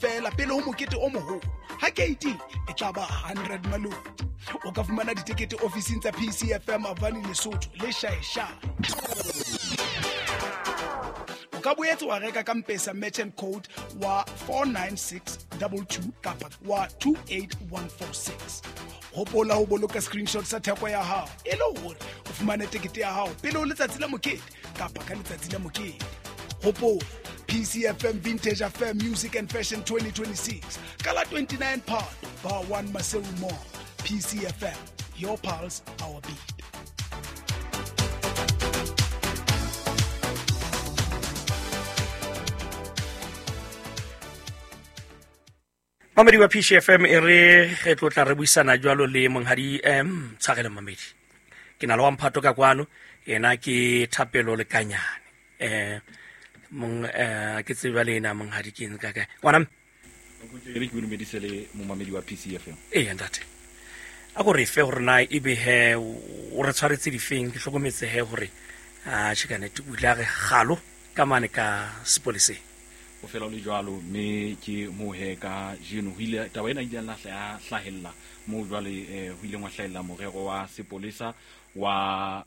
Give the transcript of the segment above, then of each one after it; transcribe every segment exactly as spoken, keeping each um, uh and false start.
Feela pele ho mokete o moholo ha keiting e tla ba hundred maloti. O ka fumana ditekete ofising tsa P C F M Avani Lesotho le Shaeshae. O ka boetse wa reka ka M-Pesa merchant code wa four nine six double two kapa wa two eight one four six. Hopola ho boloka screenshot sa theko ya hao e le hore o fumane tekete ya hao pele ho letsatsi la mokete kapa ka letsatsi la mokete. Hopola P C F M Vintage Affair Music and Fashion twenty twenty-six. Ka la twenty-nine Phato, Bar one Maseru Mall. P C F M, your pulse, our beat. Mamedi wa P C F M e re re tlo tla re buisana jwalo le monghadi M Tshwarelo Mamedi. Ke na le wa mphato ka kwano, yena ke Thapelo Lekanyane. Eh mong eh ke tseba le ena monghadi ke eng ka kae. Ngwana e re ke dumedise le momamedi wa P C F M. Eh ntate. A go re fe hore na ebe he o re tshwaretse difeng, ke hlokometse he hore a tjhe ka nete o ile a re galo ka mane ka sepoleseng. O fela o le jwalo mme ke mo he ka jeno ho ile taba ena ile ya hla hlahella mo jwale eh, ho ile ngwa hlahella morero wa sepolesa wa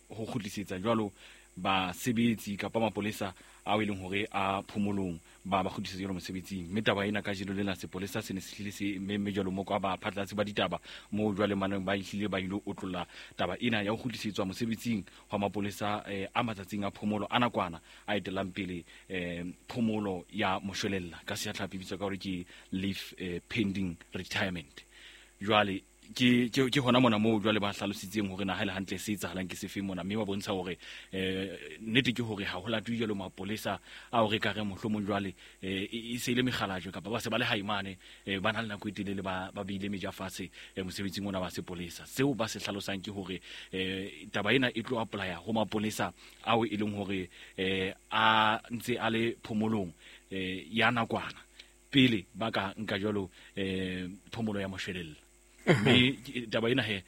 ho kgutlisetsa jwalo basebetsi kapa mapolesa ao e leng hore a phomolong ba ba kgutlisetsa jwalo mosebetsing. Mme taba ena ka jeno lena sepolesa se ne se hlile se mme jwalo mo kwa ba phatlalatsi ba ditaba mo jwale maneng ba hlile ba ile otlolla taba ena ya ho kgutlisetswa mosebetsing hwa mapolesa eh, a matsatsing a phomolo a nakwana a etelang pele eh, phomolo ya moshwelella ka setlhapi bitswa ka hore ke leave eh, pending retirement. Jwale ke ke ke hona mona moo jwale ba hlalositseng hore na ha le hantle se etsahalang ke sefe mona, mme ba bontsha hore eh nnete ke hore ha ho latwe jwalo mapolesa a hore ka re mohlomong jwale eh e se ile mekgalajwe kapa ba se ba le haimane eh ba na le nako e telele ba ba beile meja fatshe mosebetsing ona wa sepolesa. Seo ba se hlalosang ke hore eh taba ena e tlo apply-a ho mapolesa ao e leng hore eh a ntse a le phomolong eh ya nakwana pele ba ka nka jwalo eh phomolo ya moshwelella. Mme taba ena he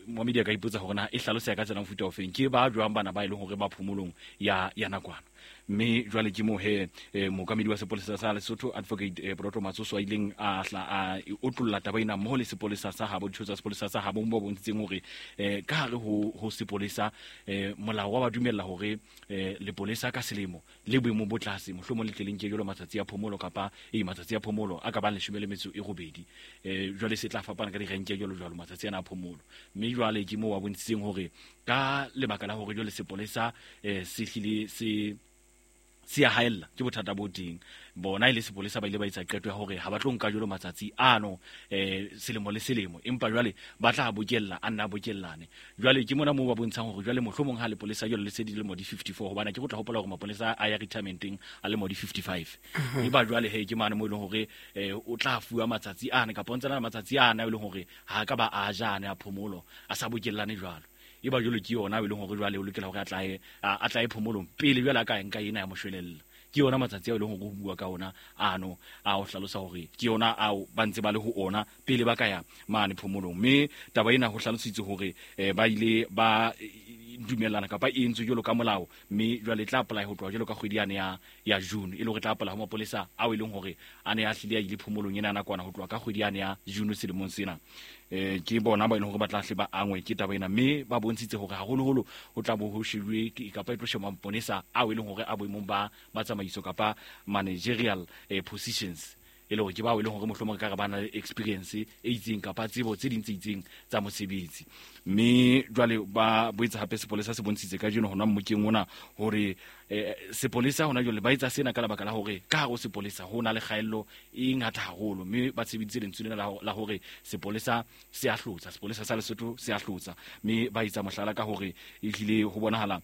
momedi a ka ipotsa hore na e hlalosa ka tsela mofuta ofeng ke ba jwang bana ba e leng hore ba phomolong ya ya nakwana. Mme jwale ke mo he mookamedi wa sepolesa sa Lesotho Advocate eh, Proto Matsoso a ileng a hla a otlolla taba ena mmoho le sepolesa sa habo ditho tsa sepolesa sa habo bo bontshitseng hore eh, ka hare ho ho sepolesa eh, molao wa ba dumella hore eh, lepolesa ka selemo le boemo bo tlase mohlomong le tleleng ke jwalo matsatsi a phomolo kapa e matsatsi a phomolo a ka bang leshome le metso e robedi eh, jwale se tla fapana ka direnke jwalo jwalo matsatsi ana a phomolo. Mme jwale ke mo wa bontshitseng hore ka lebaka la hore jwale sepolesa eh, se hlile se se a haella ke bothata bo teng bona ile sepolesa ba ile ba etsa qeto ya hore ha ba tlo nka jwalo matsatsi ano eh selemo le selemo, empa jwale ba tla bokella a nna bokellane. Jwale ke mona moo ba bontshang hore jwale mohlomong ha lepolesa jwale le se dilemo di fifty-four hobane ke go tla hopola hore mapolesa a ya retirementeng a le mo di fifty-five e ba jwale he ke mane mo e leng hore o tla fuwa matsatsi ana kapa ntse na matsatsi ana e leng hore ha ka ba a jane a phomolo a sa bokellane jwalo. E ba jwalo ke yona e leng hore jwale o lokela hore a tlae a tlae phomolong pele jwale a ka nka ena ya moshwelella. Ke yona matsatsi ao e leng hore ho bua ka ona ano a o hlalosa hore ke yona ao ba ntse ba le ho ona pele ba ka ya mane phomolong. Mme taba ena ho hlalositse hore ba ile ba dumellana kapa e entswe jwalo ka molao, mme jwale e tla apply ho tloha jwalo ka kgwedi yane ya ya June e le hore tla apply ho mapolesa ao e leng hore a ne a hlile a ile phomolong ena nakwana ho tloha ka kgwedi yane ya June selemong sena. Eh ke bona ba e leng hore ba tla hle ba angwe ke taba ena, mme ba bontshitse hore haholoholo ho tla bo ho shebuwe kapa e tlo sheba maponesa ao e leng hore a boemong ba ba tsamaiso kapa managerial eh, positions e le hore ke bao e leng hore mohlomong ka re ba na le experience e itseng kapa tsebo tse ding tse itseng tsa mosebetsi. Mme jwale ba boetse hape sepolesa se bontshitse kajeno hona mmokeng ona hore eh, sepolesa hona jwale ba etsa sena ka lebaka la hore ka hare ho sepolesa ho na le kgaello e ngata haholo, mme ba tshebeditse lentswe lena la hore sepolesa se a hlotsa, sepolesa sa Lesotho se a hlotsa. Mme ba etsa mohlala ka hore e hlile ho bonahala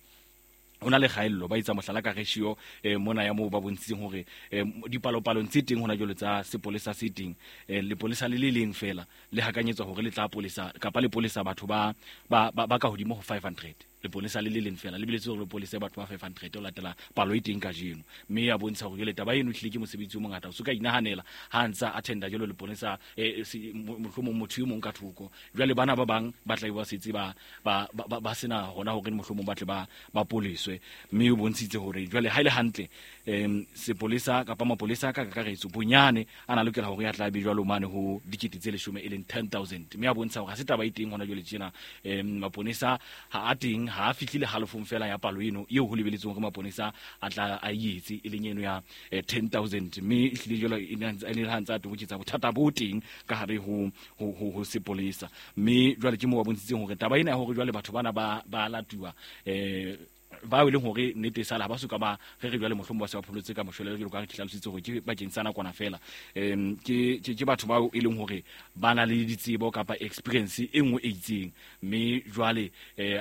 hona le kgaello, ba etsa mohlala ka ratio eh, mona ya moo ba bontshitseng hore eh, dipalopalong tse teng hona jwale tsa sepolesa se teng eh, lepolesa le le leng fela le hakanyetswa hore le tla polesa kapa le polesa batho ba ba ba ka hodimo ho five hundred. Leponesa le le leng fela le biletse hore leponesa batho ba five hundred o latela palo e teng kajeno mme ya bontsha hore jwale taba eno ehlile ke mosebetsi o mongata o se ka inahanela ha ntsa attenda jwalo leponesa mohlomong motho e mong ka thoko jwale bana ba bang ba tla ba setse ba ba ba sena hona hore mohlomong ba tle ba ba poliswe mme o bontshitse hore jwale ha ile hantle em sepolesa kapa mapolesa ka kakaretso bonyane ana lokela hore ya tla be jwalo mane ho dikete tse leshome e leng ten thousand mme a bontsha hore ha se taba e teng hona jwale tjena em maponesa ha a teng ha fihlile halofong fela ya palo eno eo ho lebeletseng hore maponesa a tla a etse e leng eno ya ten thousand mme ehlile jwalo e ne ha ntsa a toboketsa bothata bo teng ka hare ho ho ho sepolesa mme jwale ke mo ba bontshitseng hore taba ena ya hore jwale batho bana ba ba latuwa eh ba e leng hore nnete sala ba suka ba re re jwale mohlomong ba se ba pholotse ka moshwelelo jwalo ka re hlalositse hore ke bakeng sa nakwana fela em ke ke batho bao e leng hore ba na le ditsebo kapa experience e nngwe e itseng mme jwale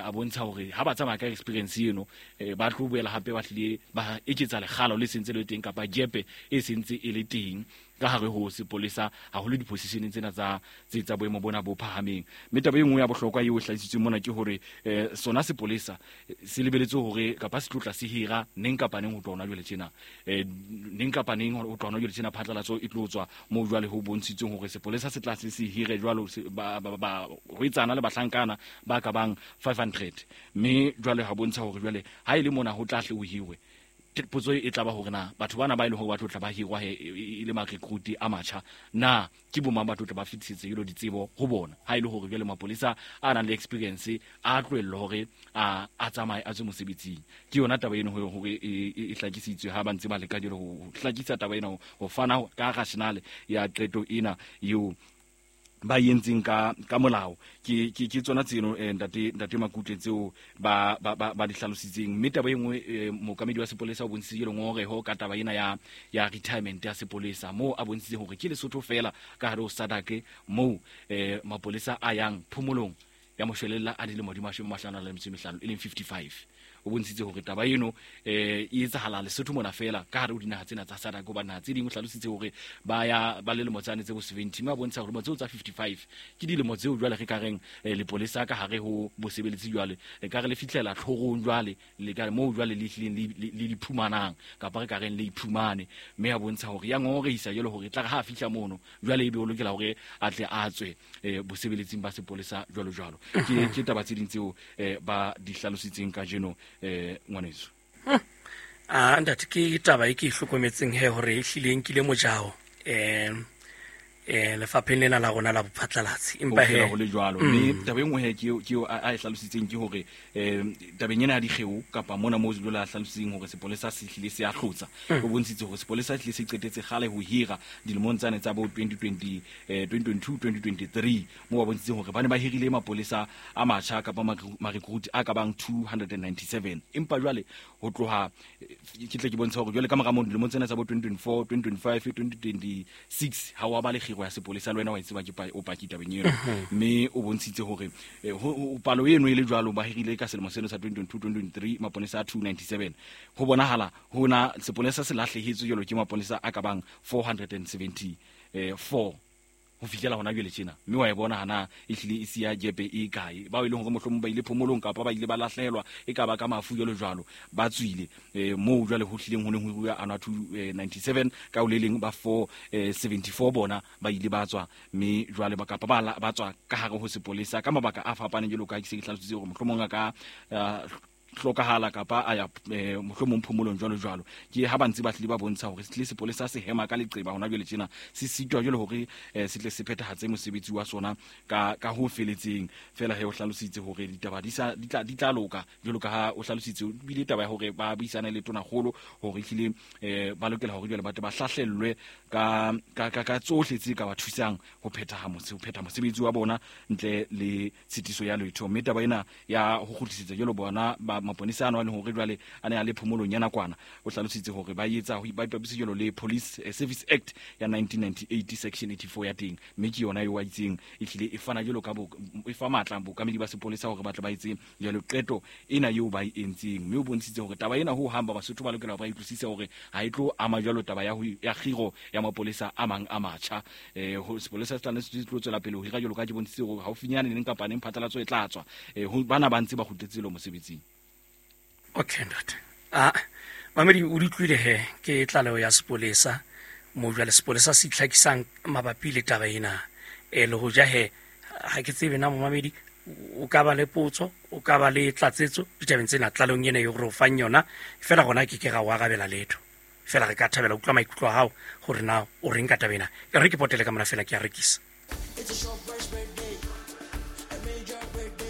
a bontsha hore ha ba tsamaya ka experience eno ba tlo boela hape ba tlile ba eketsa lekgalo le sentse le teng kapa jepe e sentse e le teng ka hare ho sepolesa haholo dipositioneng tsena tsa tse tsa boemo bona bo phahameng mme taba e nngwe ya bohlokwa eo hlahisitsweng mona ke hore sona sepolesa se lebeletse hore kapa se tlotla se hira neng kapa neng ho tloha hona jwale tjena neng kapa neng ho tloha hona jwale tjena phatlalatso e tlo tswa moo jwale ho bontshitsweng hore sepolesa se tla se se hire jwalo ba ba rwetsana le bahlankana ba ka bang five hundred mme jwale ha bontsha hore jwale ha e le mona ho tla hle ho hirwe potso e tla ba hore na batho bana ba ile hore ba tlo tla ba hirwa e le ma-recruit a matjha na ke bo mang ba tlo tla ba fetisetse jalo ditsebo ho bona ha ile hore jwale mapolesa a nang le experience a tlohellwe hore a a tsamaye a tswe mosebetsing ke yona taba eno hore e hlakisitswe ha ba ntse ba leka jalo ho hlakisa taba ena ho fana ka rationale ya qeto ena eo ba yentseng ka ka molao ke ke ke tsona tseno ntate ntate Makutle tseo ba ba ba di hlalositseng mme taba e nngwe mookamedi wa sepolesa o bontshitse ngongoreho ka taba ena ya ya retirement ya sepolesa moo a bontshitse hore ke Lesotho fela ka hare ho SADC moo mapolesa a yang phomolong ya moshwelella a dilemo di mashome a mahlano a metso e mehlano e leng fifty-five o bontshitse hore taba eno eh e etsahala Lesotho mona fela ka hare ho dinaha tsena tsa SADC hoba naha tse ding o hlalositse hore ba ya ba le lemo tsane tse bo seventy mme a bontsha hore tseo tsa fifty-five ke dilemo tseo jwale re ka reng lepolesa ka hare ho bosebeletsi jwale re ka re le fihlela tlhorong jwale le ka moo jwale le hlileng le le phumanang kapa re ka reng le iphumane mme a bontsha hore ya ngongorehisa jwale hore tla re ha fihla mono jwale ebe o lokela hore a tle a tswe bosebeletsing ba sepolesa jwalo jwalo ke ke taba tse ding tseo ba di hlalositseng kajeno eh ngwaneso ah ntate ke taba e ke hlokometseng he hore e hlile nkile mojao eh eh lefapheng lena la rona la bophatlalatsi empa he ho le jwalo mme taba e nngwe he ke ke a e hlalositseng ke hore eh tabeng ena ya dikgeo kapa mona moo jwalo a hlalositseng hore sepolesa se hlile se a hlotsa o bontshitse hore sepolesa se hlile se qetetse kgale ho hira dilemong tsane tsa bo twenty twenty eh twenty twenty-two twenty twenty-three moo ba bontshitseng hore ba ne ba hirile mapolesa a matjha kapa ma-recruit a ka bang two hundred ninety-seven empa jwale ho tloha ke tle ke bontsha hore jwale ka mora moo dilemong tsena tsa bo twenty twenty-four twenty twenty-five twenty twenty-six ha wa ba le ya sepolesa le wena wa tseba ke o paki tabeng eno mme o bontshitse hore palo eno e le jwalo ba hirile ka selemo seno sa twenty twenty-two twenty twenty-three maponesa a two ninety-seven ho bonahala hona sepolesa se lahlehetswe jwalo ke maponesa a ka bang four hundred seventy-four ho fihlela hona jwale tjena mme wa e bona hana e hlile e siya jepe e kae bao e leng hore mohlomong ba ile phomolong kapa ba ile ba lahlehelwa e ka ba ka mafu jwalo jwalo ba tswile moo jwale ho hlileng ho neng ho rua anwa two ninety-seven ka o le leng ba four seventy-four bona ba ile ba tswa mme jwale ba kapa ba ba tswa ka hare ho sepolesa ka mabaka a fapaneng jwalo ka ke se ke hlalositse hore mohlomong a ka hlokahala kapa a ya mohlomong phomolong jwalo jwalo ke ha ba ntse ba tlile ba bontsha hore se tlile sepolesa se hema ka leqeba hona jwale tjena se sitwa jwale hore se tle se phethahatse mosebetsi wa sona ka ka ho feletseng fela he o hlalositse hore ditaba di sa di tla di tla loka jwalo ka ha o hlalositse bile taba ya hore ba buisane le tonakgolo hore hlile ba lokela hore jwale ba tle ba hlahlellwe ka ka ka tsohle tse ka ba thusang ho phetha ho phetha mosebetsi wa bona ntle le tshitiso ya letho mme taba ena ya ho kgutlisetsa jwalo bona ba ba maponesa ano a leng hore jwale a ne a le phomolong ya nakwana. O hlalositse hore ba etsa ho ba ipapisa jwalo le Police Service Act ya nineteen ninety-eight section eighty-four ya teng, mme ke yona eo a itseng e hlile e fana jwalo ka bo e fa matla bokamedi ba sepolesa hore ba tle ba etse jwalo qeto ena eo ba e entseng. Mme o bontshitse hore taba ena ho hang ba Basotho ba lokela ba utlwisise hore ha e tlo ama jwalo taba ya ho ya kgiro ya mapolesa a mang a matjha. Eh ho sepolesa se tla se tlo tswela pele ho hira jwalo ka ke bontshitse hore haufinyane neng kapa neng phatlalatso e tla tswa. Eh ho bana ba ntse ba kgutletse lo mosebetsing. Okay ntate. Ah mamedi o utlwile he ke tlaleho ya sepolesa mo jwale sepolesa se itlhakisang mabapi le taba ena. E le ho ja he ha ke tsebe na momamedi o ka ba le potso, o ka ba le tlatsetso ditabeng tsena tlalehong ena e re o fang yona. Fela gona ke ke ga o arabela letho, fela re ka thabela utlwa maikutlo a hao hore na o reng ka taba ena. E re ke potele ka mona fela ke a rekisa.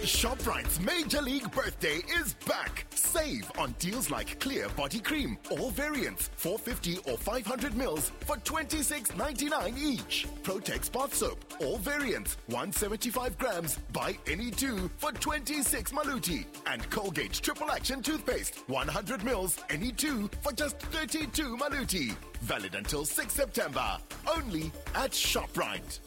ShopRite's Major League Birthday is back. Save on deals like Clear Body Cream, all variants, four fifty or five hundred mils for twenty-six ninety-nine each. Protex Bath Soap, all variants, one seventy-five grams, buy any two for twenty-six maluti. And Colgate Triple Action Toothpaste, one hundred mils, any two for just thirty-two maluti. Valid until sixth September. Only at ShopRite.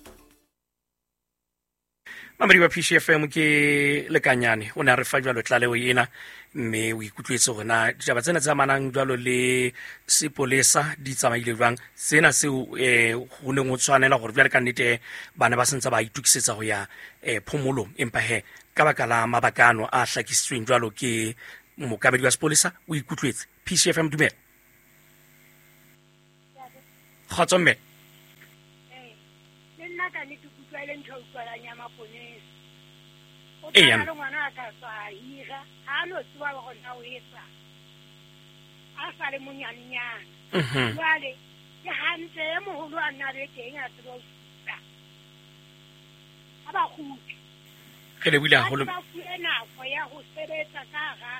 Mamedi wa P C F M ke lekanyane o ne a re fa jwalo tlaleho ena, mme o ikutlwetse hore na ditaba tsena tse amanang jwalo le sepolesa di tsamaile jwang. Sena seo eh ho neng ho tshwanela hore jwale ka nnete bana ba sentse ba itukisetsa ho ya eh phomolong, empa he ka baka la mabaka ano a hlakisitsweng jwalo ke mokamedi wa sepolesa o ikutlwetse. P C F M dumela. Kgotso mme. Eh le nna ka nnete ke utlwa le ntho e utlwalang ya maponesa. O Ee, tla le ngwana a ka tswa a hira, ha a no tseba hore na o etsa. A sa le monyanenyana. Mhm. Jwale ke hantle e moholo a nna le teng a tseba ho supa. Ha ba kgutle. Re lebohile haholo. Ba fuwe nako ya ho sebetsa ka hara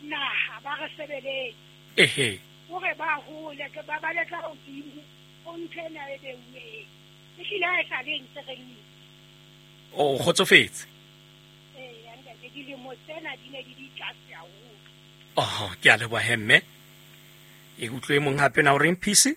naha, ba re sebeletse. Ehe. Hore ba hole, ke ba bale ka hodimo ho ntho ena e beuweng. Ehlile ha e sa le ntse re le. O kgotsofetse? Ee, ntate, dilemo tsena di ne di di tlase haholo. Oh, ke a leboha he mme. E utlwe mong hape na o reng P C?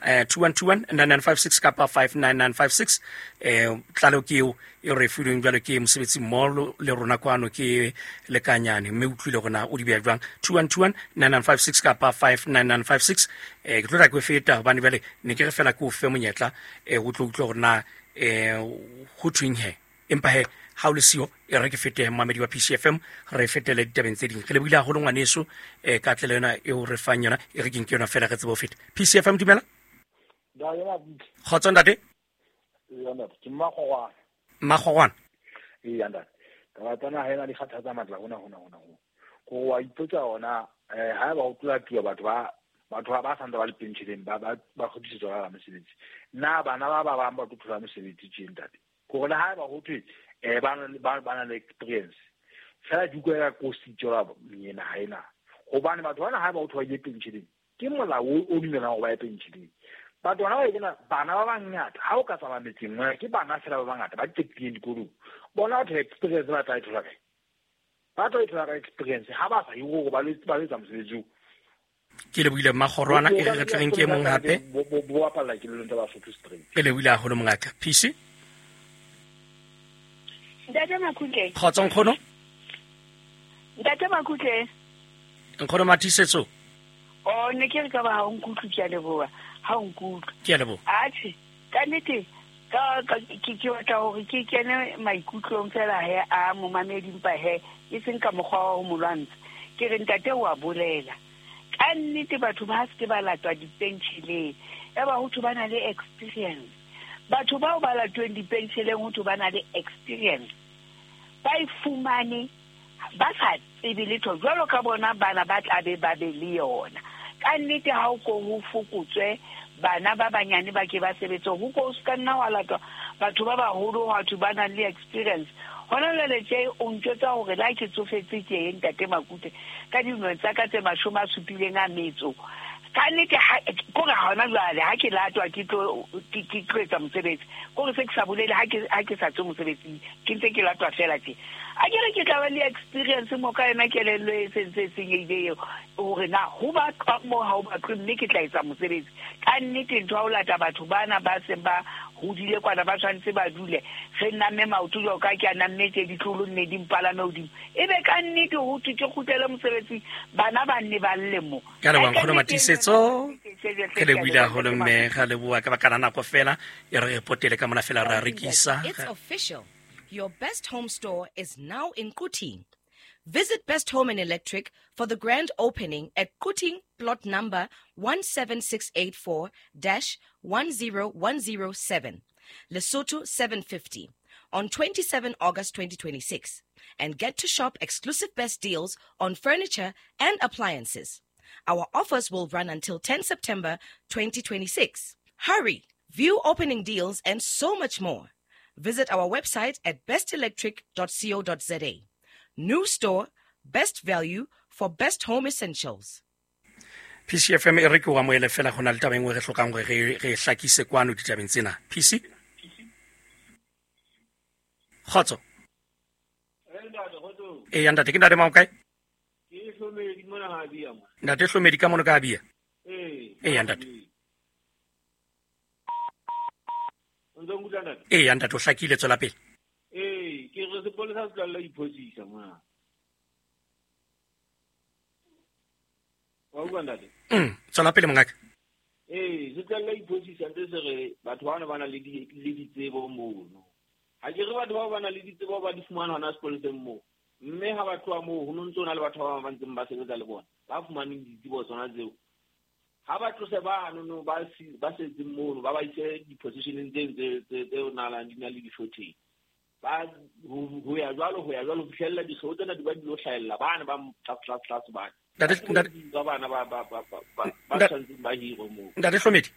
Eh two one two one nine nine five six kapa five nine nine five six. Eh tlaleho ke eo e re filweng jwalo ke mosebetsi mmoho le rona kwano ke lekanyane, mme utlwile hore na o di beha jwang. two one two one nine nine five six kapa five nine nine five six. Eh ke tlo tla ke feta hobane jwale ne ke re fela ke o fe monyetla eh o tlo utlwa hore na eh ho thweng he. Empa he ha o le siyo e re ke fete mamedi wa P C F M re fetele ditabeng tse ding. Re lebohile haholo ngwaneso eh ka tlele yona eo re fang yona, e re ke nke yona fela re tsebe ho feta. P C F M dumela. Kgotso ntate. Ee ntate, ke Mmakgogwana. Mmakgogwana. Ee ntate. Taba tsena ha ena di kgathatsa matla hona hona hona ho. Ko wa ipotsa hona eh ha ba o tlola tua batho ba batho ba ba santse ba le pensioneng ba ba ba kgutlisetswa ka mosebetsi. Na bana ba ba bang ba tlo thola mosebetsi tje ntate. Ko re ha ba ho thwe eh ba ba ba na le experience. Fela di utlwa ya kosi tjola yena ha ena. Hobane batho bana ha ba o thola ye pensioneng. Ke molao o dumelang hore ba ye pensioneng. Batho bana ba ena bana ba bangata ha o ka tsamaya metseng mona ke bana fela ba bangata ba qetileng dikolong. Bona batho experience ba tla e thola kae? Ba tla e thola ka experience ha ba sa ye hore ba le ba etsa mosebetsi oo. Ke lebohile Mmakgorwana, e re re tleng ke mong hape. Bo bo bapalla ke lelong tsa Basotho straight. Ke lebohile haholo mongaka. P C. Ntate Makutle. Kgotso nkgono. Ntate Makutle. Nkgono Mathisetso. Oh, ne ke re ka ba ha o nkutlwe, ke a leboha. Ha o nkutlwe. Ke a leboha. Atjhe, ka nnete ka ke ke batla hore ke kene maikutlong fela he a momamedi mpa he e seng ka mokgwa wa ho mo lwantsha. Ke re ntate wa bolela. Ka nnete batho ba se ke ba latwa dipentsheleng. E ba ho thwe ba na le experience. Batho bao ba latweng dipentsheleng ho thwe ba na le experience. Ba e fumane ba sa tsebe letho jwalo ka bona bana ba tla be ba be le yona. Ka nnete ha o ko ho fokotswe bana ba banyane ba ke ba sebetse ho ko se ka nna wa latwa batho ba baholo batho ba nang le experience. Hona jwale tje o ntjwetsa hore la ke tsofetse ke ntate Makute ka dilemo tsa ka tse mashome a supileng a metso. Ka nnete kore hona jwale ha ke latwa ke tlo ke tlo etsa mosebetsi kore se ke sa bolele ha ke ha ke sa tswe mosebetsing ke ntse ke latwa fela tje. A ke re ke tla ba le experience mo ka yona kelello e sentse e senyehile eo hore na ho batlwa mo ha ho batlwe mme ke tla etsa mosebetsi. Ka nnete ntho ya ho lata batho bana ba seng ba hodile kwana ba tshwanetse ba dule re namme maoto jwalo ka ke a namme tje ditlolo nne di mpalame hodimo ebe ka nnete ho thwe ke kgutlele mosebetsing bana ba nne ba lle mo. Ka leboha nkgono Matiisetso, ke lebohile haholo mme ga leboha ka baka la nako fela e re re potele ka mona fela ra rekisa. It's official. Your Best Home store is now in Quthing. Visit Best Home and Electric for the grand opening at Quthing plot number one seven six eight four dash one zero one zero seven, Lesotho seven fifty, on twenty-seventh August twenty twenty-six, and get to shop exclusive best deals on furniture and appliances. Our offers will run until tenth September twenty twenty-six. Hurry, view opening deals and so much more. Visit our website at best electric dot co dot za. New store, best value for best home essentials. P C F M e re ke o amohele fela ho na le taba e nngwe re hlokang hore re re hlakise kwano ditabeng tsena. P C? Kgotso. Eh ya ntate, ke ntate mang kae? Ke Hlomedi mona ha bia mo. Ntate Hlomedi ka mono ka bia? Eh. Eh ya ntate. O ntse o nkutlwa ntate? Eh ya ntate, o hlakile, tswela pele. Eh, ke re sepolesa se tlohella ho iphosisa mona. Wa utlwa ntate? Mm, tswela pele mongaka. Eh, se tlohella ho iphosisa ntse se re batho bana ba na le di le ditsebo mono. Ha ke re batho bao ba na le ditsebo ba di fumana hona sepoleseng moo. Mme ha ba tloha moo ho no ntso na le batho ba bang ba ntseng ba sebetsa le bona ba fumaneng ditsebo tsona tseo. Ha ba tlose bano no ba ba setseng mono ba ba ise di-positioneng tse tse tse tse nalang di na le di-shortage. Ba ho ya jwalo ho ya jwalo ho fihlella dikgeo tsena di ba di lo hlahella bana ba tlase tlase tlase bana. Ntate ntate ba bana ba ba ba ba ba tshwantseng ba hirwe moo. Ntate Hlomedi.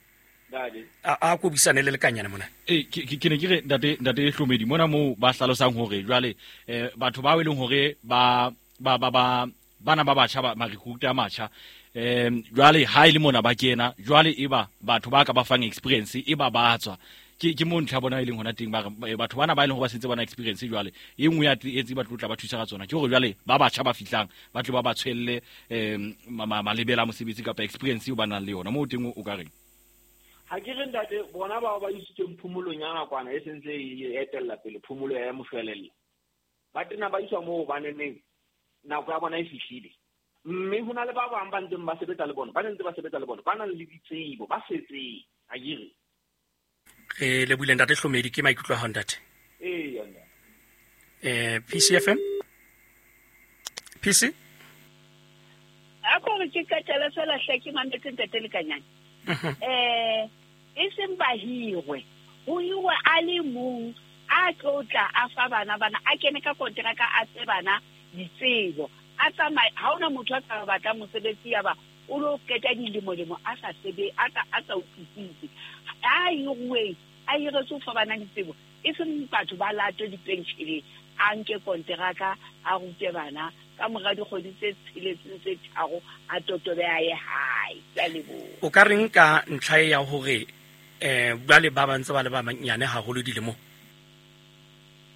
Ntate. A a ko buisane le lekanyana mona. Eh ke ke ne ke re ntate ntate Hlomedi mona moo ba hlalosang hore jwale eh batho ba e leng hore ba ba ba ba bana ba batjha ba recruit a matjha em jwale ha ile mona ba kena jwale e ba batho ba ka ba fang experience e ba batswa ke ke mo ntlha bona e leng hona teng ba batho bana ba e leng ho ba sentse bona experience jwale e nngwe ya e tse ba tlotla ba thusa ka tsona ke hore jwale ba batjha ba fihlang ba tle ba ba tshwelle em malebela mosebetsi kapa experience eo ba nang le yona mo teng o ka reng. Ha ke re ntate bona bao ba isitsweng phomolong ya nakwana e sentse e etella pele phomolo ya moshwelella ba tena ba iswa moo baneneng nako ya bona e fihlile mme ho na le ba bang ba ntseng ba sebetsa le bona ba ntse ba sebetsa le bona ba nang le ditsebo ba setseng ha ke re re lebohile ntate Hlomedi ke maikutlo a hao ntate. Eh ya ntate. Eh P C F M P C A ko re ke qetela fela hle ke mametse ntate Lekanyane. Eh e seng ba hirwe ho hirwe a le mong a tlotla a fa bana bana a kene ka kontraka a tse bana ditsebo a tsamaya ha ona motho a ka batla mosebetsi ya ba o lo qeta dilemo lemo a sa sebe a sa a sa utlwisise a hirwe a hiretse ho fa bana ditsebo e seng batho ba latwe dipenshele a nke kontraka a rute bana ka mora dikgwedi tse tsheletseng tse tharo a totobe a ye hae. Ke a leboha. O ka reng ka ntlha ya hore eh jwale ba ba ntse ba le ba banyane haholo dilemong?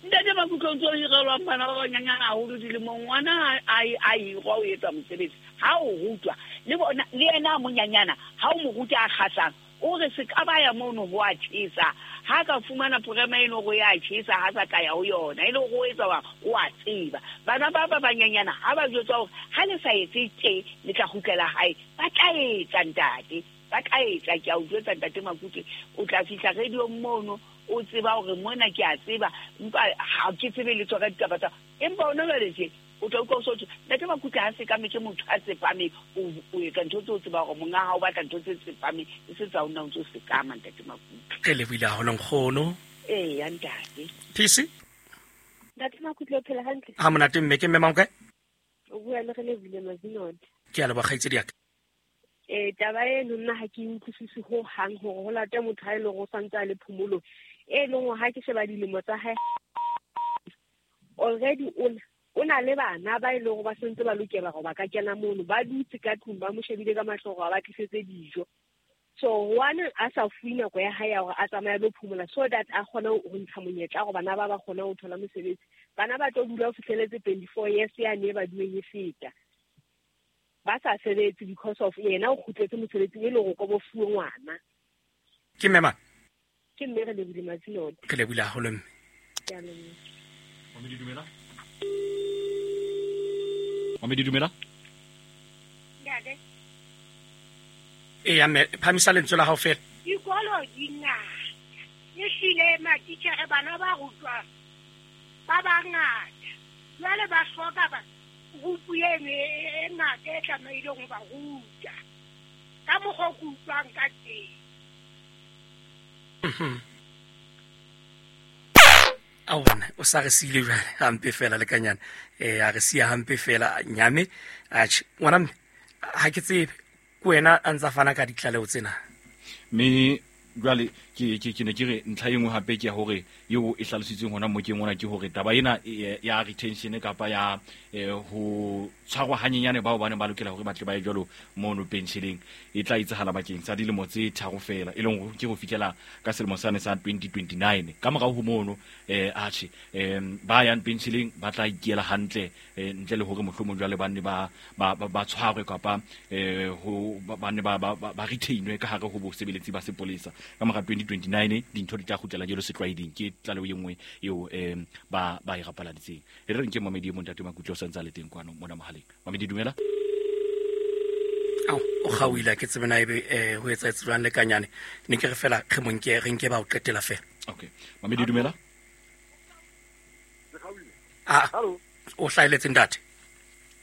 Ntate Makutlwa o ntso hirelwang bana ba banyanyana haholo dilemong ngwana a a hirwa o etsa mosebetsi ha o rutwa le bona le yena a monyanyana ha o mo ruta a kgahlang o re se ka ba ya mono ho a tjhesa ha ka fumana porema eno go ya tjhesa ha sa ka ya ho yona e le go etsa wa o a tseba bana ba ba banyanyana ha ba jwetsa hore ha le sa etse tje le tla kgutlela hae ba tla etsa ntate ba tla etsa ke a o jwetsa ntate Makutlwa o tla fihla radio mono o tseba hore mona ke a tseba empa ha ke tsebe letho ka ditaba tsa empa ona jwale tje o tla utlwa o so ntate Makutlwa ha se ka me ke motho a tsepame o o etsa ntho tse o tseba hore monga ha o batla ntho tse tsepame e se tsa ona o ntso sekama ntate Makutlwa. Re lebohile haholo nkgono. Eh ya ntate. P C Ntate Makutlwa o phela hantle? Ha monate mme ke mme mang kae? O bua le re lebohile Mazinone. Ke a leboha kgaitsedi ya ka. Eh taba eno nna ha ke utlwisise ho hang hore ho late motho ha e le hore o santse a le phomolong e leng hore ha ke sheba dilemo tsa hae already o O na le bana ba e leng gore ba sentse ba lokela gore ba ka kena mono, ba dutse ka tlung ba mo shebile ka mahlo gore ba tlisetse dijo. So one a sa fuwe nako ya hae ya hore a tsamaye lo phomola so that a kgone ho ntsha monyetla gore bana ba ba kgone ho thola mosebetsi. Bana ba tlo dula ho fihleletse twenty-four years yane ba dueng e feta. Ba sa sebetse because of yena o kgutletse mosebetsing e le hore ko bo fuwe ngwana. Ke mme mang? Ke mme re lebile Matsinote. Re lebile haholo mme. Ke a leboha. Mamedi dumela. Mamedi dumela. Ntate. Eya mme, phamisa lentswe la hao fela. Dikolo di ngata. Ehlile matitjhere bana ba rutwang ba bangata. Jwale ba hloka ba group eno e ngata e tlamehileng ho ba ruta. Ka mokgwa o ke utlwang ka teng. Mhm. A bona o sa re siile jwale hampe fela le kanyana. Eh a re siya hampe fela nyame. Atjhe ngwana mme ha ke tsebe ke wena a ntsa fana ka ditlaleho tsena. Mme jwale ke ke ke ne ke re ntlha e nngwe hape ke ya hore eo e hlalositsweng hona mo ke ngwana ke hore taba ena ya retention kapa ya ho tshwarwa hanyenyane bao ba neng ba lokela hore ba tle ba ye jwalo mono pensioneng e tla etsahala bakeng sa dilemo tse tharo fela, e leng hore ke ho fihlela ka selemo sane sa twenty twenty-nine. Ka morao ho mono eh atjhe eh ba yang pensioneng ba tla ikela hantle ntle le hore mohlomong jwale ba nne ba ba ba tshwarwe kapa eh ho ba nne ba ba retainwe ka hare ho bosebeletsi ba sepolesa. Ka mora twenty twenty-nine dintho di tla kgutlela jwalo setlwaeding. Ke tlaleho e nngwe eo um ba ba e rapaladitseng. E re nke Mamedi e mong ntate Makutle o santse a le teng kwano mona mohaleng. Mamedi dumela. Ao o kgaohile ke tsebe na ebe eh ho etsahetse jwang le kanyane. Ne ke re fela re mo nke re nke ba o qetela fela. Okay. Mamedi dumela. Ah. O hlaeletse ntate.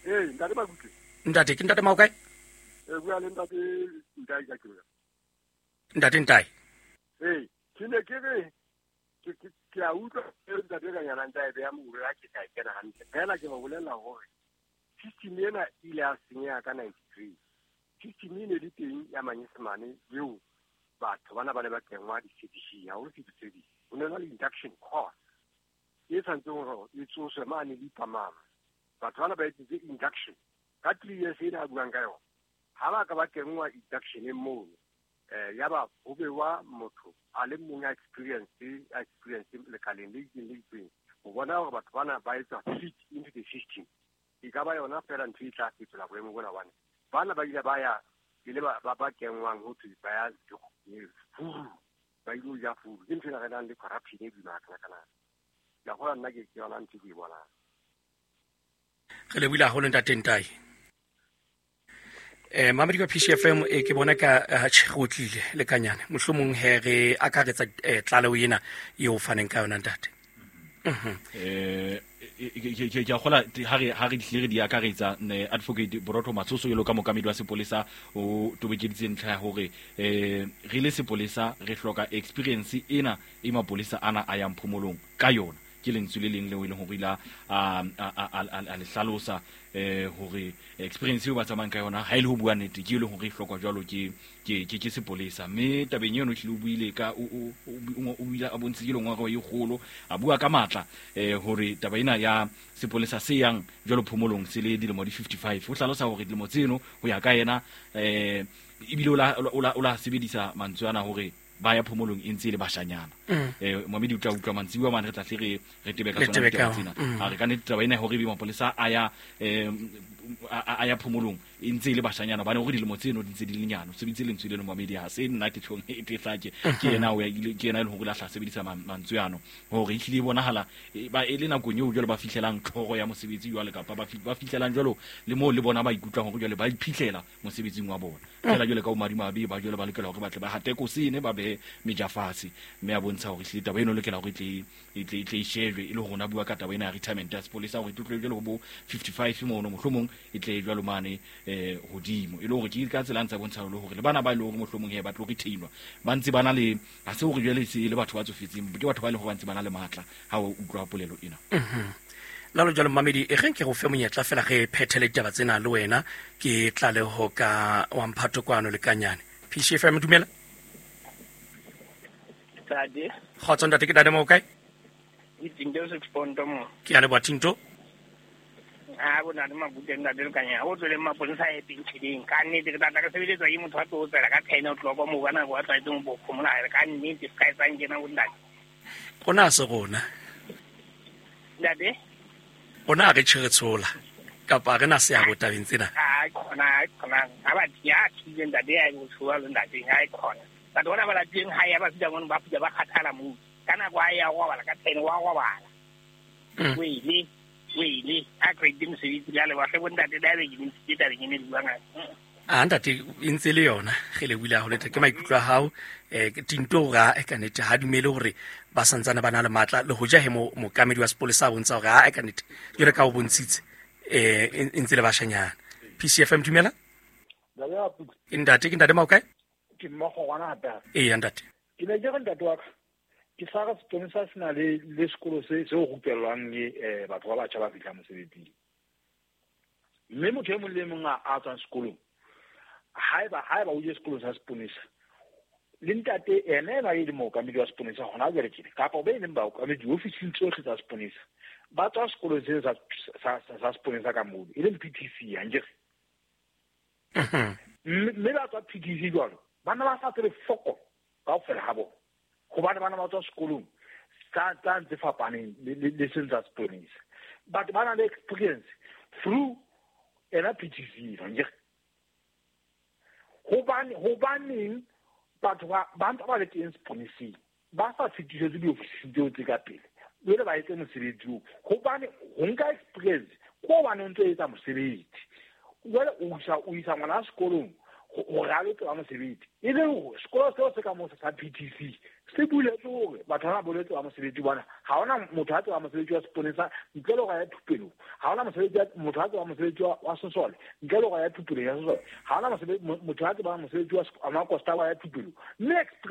Eh ntate Makutle. Ntate ke ntate Maokae? Eh bua le ntate Ntai ka ke. Ntate Ntai. Eh ke ne ke re ke ke a utlwa ntate ka nyana ntate ya mo re ke ka kena hantle. Fela ke ba bolella hore system ena ile ya senyeha ka ninety-three. System ene le teng ya manyesemane eo batho bana ba ne ba kengwa di-C D C, haholo C D C. Ho ne na le induction course e tshwanetseng hore e tsoswe mane le ipamama. Batho bana ba etsetse induction ka three years ena a buang ka yona. Ha ba ka ba kengwa induction e mono eh yaba ho bewa motho a le mong a experience a experience lekaleng le itseng le itseng ho bona hore batho bana ba etsa fit into the system. E ka ba yona fela ntho e tla fetola boemo bona bana bana ba ile ba ya ile ba ba kengwang ho thwe ba ya furu ba ile ja furu ke ntho e re nang le corruption e boima kana kana ya go nna ke yona ntho ke e bonang. Re lebohile haholo ntate Ntai. Eh Mamedi ka P C F M e ke bona ka tjhe le kanyane mohlomong he re akaretsa tlaleho ena eo faneng ka yona ntate. Mhm. Eh ke ke a kgola ha re ha re dihlere di akaretsa advocate Borotho Matsoso jwalo ka mokamedi wa sepolesa o tobekeditse ntlha ya hore eh re le sepolesa re hloka experience ena e mapolesa ana a yang phomolong ka yona. Ke lentswe le leng leo e leng hore ila a a le hlalosa eh hore experience eo ba tsamayang ka yona ha ile ho bua nnete ke e leng hore e hlokwa jwalo ke ke ke sepolesa. Mme tabeng eno tlile o buile ka o o o ile a bontshitse lengwa e kgolo a bua ka matla eh hore taba ena ya sepolesa se yang jwalo phomolong se le dilemo di fifty-five. O hlalosa hore dilemo tseno ho ya ka yena eh ebile o la o la sebedisa mantswe ana hore ba ya phomolong e ntse le bashanyana. Eh Mamedi o tla utlwa mantsibuya mane re tla hle re re tebe ka tsona ditaba tsena. A re ka nnete taba ena hore ebe mapolesa a ya eh a ya phomolong e ntse le bashanyana bane hore dilemo tseno di ntse di le nyane. O sebeditse lentswe leno Mamedi ha se nna ke tjhong e tlake ke yena o ya ke yena e leng hore la hla sebedisa mantswe ano hore ehlile e bonahala ba e le nakong eo jwalo ba fihlelang tlhoro ya mosebetsi jwale kapa ba ba fihlelang jwalo le moo le bona ba ikutlwang hore jwale ba iphihlela mosebetsing wa bona. Fela jwale ka o madimabe ba jwale ba lokela hore ba tle ba hate kosene ba be meja fatshe mme a bontsha hore ehlile taba eno lokela hore e tle e tle e tle e shejwe e le hore ona bua ka taba ena ya retirement ya sepolesa hore e tle jwale ho bo fifty-five mono mohlomong e tle jwalo mane eh hodimo e le hore ke ka tsela ntse bontsha le hore le bana ba ile hore mohlomong he ba tlo retainwa ba ntse bana le ha se hore jwale se le batho ba tsofetseng ke batho ba le hore ba ntse bana le matla ha o utlwa polelo ena. Mhm. Lalo jwalo Mamedi e reng ke go fe monyetla fela re phethele ditaba tsena le wena ke tlaleho ka wa mphato kwano le kanyane. P C F M dumela. Tade. Kgotso ntate ke Dade mo kae? Ke Tinto se Ponto mo. Ke a leboha Tinto. A bona le Mabute ntate Lekanyane o tswele maponesa a pentšheleng ka nnete ke tata re sebeletswa ke motho a tlo tswela ka ten o'clock mo ka nako a tlwaetseng go phomola ka nnete se ka etsang kena bo ntate. Rona se rona. Ntate? Rona re tjhe re tshola kapa re na seabo tabeng tsena. A khona khona ha ba ya tshile ntate ya go tshola le ntate ha e khona. Batho bona ba lateng ha ya ba fihla mono ba fihla ba kgathala moo. Ka nako a ya go bala ka ten wa go bala. O ile o ile a grade mosebetsi le le ba hle bo ntate da be ke ntse tabeng ene buang. A ntate e ntse le yona re le buile haholo ke maikutlo a hao eh tinto hore a ka nete ha dumele hore ba santsane ba na le matla le hoja he mo mokamedi wa sepolesa a bontsha hore a ka nete jwale ka o bontshitse eh e ntse le bashanyana. P C F M dumela. Ntate ke ntate Maokae? Ke mmogo ngwana hape. Ee ntate. Ke ne ke re ntate wa ka ke sa re seponesa se na le le sekolo se se rupellwang eh batho ba batjha ba fihla mosebetsing. Mme motho e mong le mong a tswang sekolong haeba haeba o je sekolo sa seponesa le ntate ene ena e le mookamedi wa seponesa hona jwale tjena kapa o be leng baokamedi diofising tsohle tsa seponesa ba tswa sekolo se sa sa sa seponesa ka moo e leng P T C ankere. Mme ba tswa P T C jwalo bana ba sa tsebe foko kaofela ha bona hobane bana ba tswa sekolong tsa tsa ntse fapaneng le le seng tsa seponesa but ba na le experience through ena P T C ankere. Hobane hobaneng batho ba ba ntse ba le teng seponeseng ba sa fetisetse diofising tseo tse ka pele jwale ba etse mosebetsi oo hobane ho nka experience ko hobane o ntso etsa mosebetsi jwale o isa o isa ngwana sekolong hore a lo tseba mosebetsi e leng hore sekolo seo se ka moo sa P T C se buletswe hore batho ba ba lo tseba mosebetsi bona ha hona motho a tseba mosebetsi wa seponesa ntle le hore a ye thupelong ha hona mosebetsi motho a tseba mosebetsi wa sesole ntle le hore a ye thupelong ya sesole ha hona mosebetsi motho a tseba mosebetsi wa makosta wa ya thupelong mme experience